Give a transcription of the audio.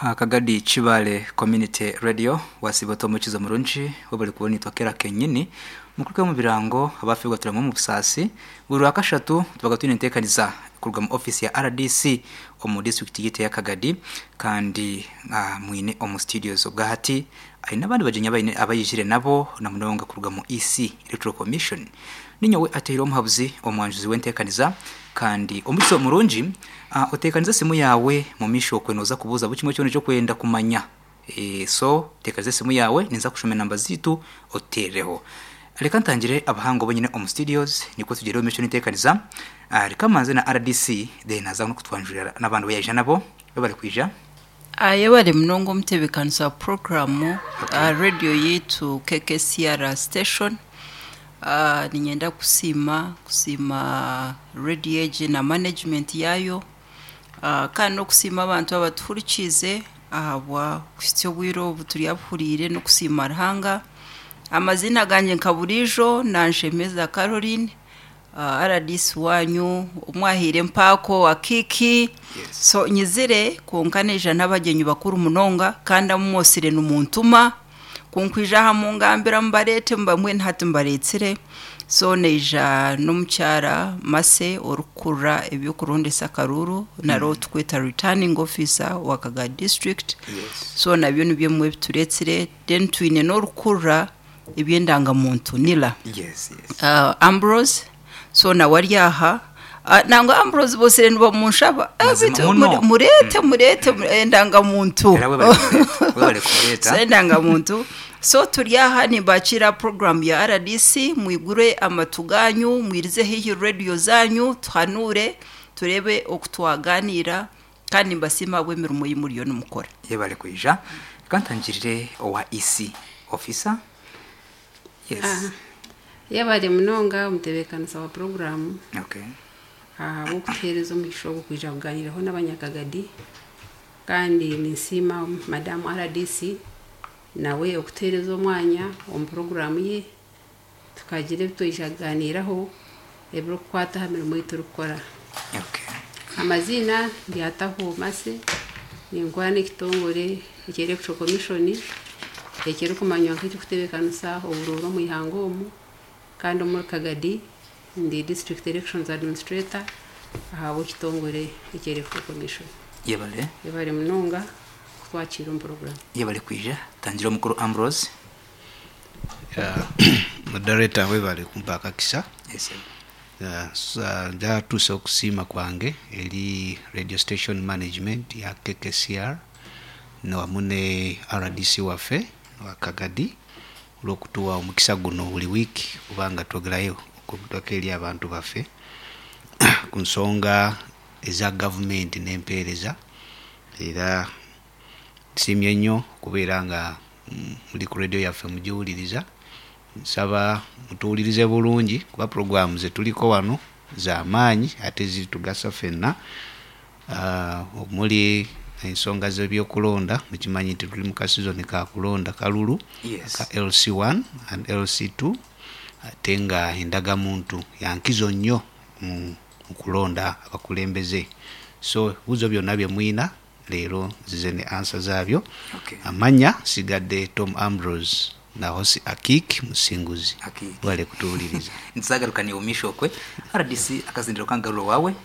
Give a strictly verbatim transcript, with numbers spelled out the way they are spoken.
Kagadi Kibale Community Radio wasiba omukizo murungi webali kubona itwakera kenyini mukuruke mu birango abafirwa turamu mu busasi buri wakashatu tubaga twine enteekaniza kuruga mu office ya R D C omu district yite ya Kagadi. Kandi uh, mwine omu studios obwahati aine abandi bagenyi abaine abayijire nabo na munonga kuruga mu E C, Electoral Commission. Ninyowe ateire omuhabuzi omwanjuzi w'enteekaniza kandi omukizo murungi. uh, oteekaniza simu yawe mu misho okwenoza kubuuza buri kimwe kyona ekyokwenda kumanya. e, so teekaniza esimu yawe, ninza kushoma enamba ziitu oteereho. Reka ntangire abahango bonyine omu studios niko tugere omu misho n'enteekaniza. uh, reka manze na R D C, then aza no kutwanjurira n'abantu bayaija nabo bari kwija. Ayebare munonga omutebeekanisa wa puroguramu. Okay. Radio yitu K K C R station, uh, ninyenda kusiima kusiima radio egi na management yayo, uh, kandi n'okusiima abantu abatuhurikiize ahabwa kuhitsya obwire obu turi abuhuriire n'okusiima Ruhanga. Amazina gangye nka buriijo Nanshemeza Caroline, uh, R D C wanyu omwahiire empaako akiiki. Yes. So nyizire konka neija n'abagyenyi bakuru munonga kandi amumwosire nimuntuma kunkwija aha mungambira mubareete mubamwe hati mbaretsire. So neija n'omukyara Mase orikukurira ebyokurondesa akaruru naro tukweta returning officer wa Kagadi District. Yes. So nabyo nibyo mwe bituretsire. Then twine n'orukurura ebyendangamuntu nila Yes, yes. uh, Ambrose, so nawe ari aha. uh, nangwa Ambrose bose nibamunshaba. Eh, Mazima bitu, muno. muri- murete murete endangamuntu. Era webale kumureta, webale kumureta. So endangamuntu. So turi aha nibakira program ya R D C. Mwigure amatu ganyu, mwirize hihi radio zanyu, tuhanure turebe okutwaganira kandi mbasima bw'emirimo y'imuriyo nimukora. Yebale kwija. Reka ntangirire owa E C officer. Yes. Ah, yebale munonga omutebeekanisa wa puroguramu Okay. ahabw'okutuheereza omugisha ogwo kwija kuganiraho n'abanyakagadi. Kandi ninsiima madamu R D C nawe okutuheereza omwanya omu puroguramu ye tukagira ebi twija kuganiraho ebirikukwata aha mirimo ei turikukora. Okay. Amaziina ndyataho Mase, ninkora n'ekitongore ekya Electoral Commission ekirikumanywa nk'ekirikutebeekanisa oburuuru omu ihanga omu, kandi omuri Kagadi ndi district elections administrator ahabw'ekitongore ekya Electoral Commission. Yebale. Ebare munonga kutwakiira omu puroguramu. Yebale kwija. Tangira omukuru Ambrose. Moderator, webale kumpa akakisa. Yes. Uh, sa- njatuusa okusiima kwange eri radio station management ya K K C R wamu ne R D C waffe wa Kagadi olwokutuwa omukisa guno buli wiiki kubanga twogerayo okutwako eri abantu baffe ku nsonga eza gavumenti n'empeereza. Era nsiimye nnyo okubeera nga mm, muli ku radio yaffe mugiwuliriza. Nsaba mutuwulirize bulungi kuba puroguramu zetuliko wano z'amaanyi ate zitugasa ffenna. Ah, omuli ensonga z'ebyokulonda, mukimanyi nti tuli mu kasizoni ka kulonda kalulu Yes. ka L C one and L C two, ate nga endagamuntu yankizo nnyo mu mu kulonda abakulembeze. So ebibuuzo byonna bye mwina leero nzize ne answer zaabyo. Okay. Amanya sigadde Tom Ambrose Nahosi Akik Musinguzi. Akik. Wale kutuwuliriza. Ntizagarukaniye umisho okwe R D C akazindiro kangaruro wawe.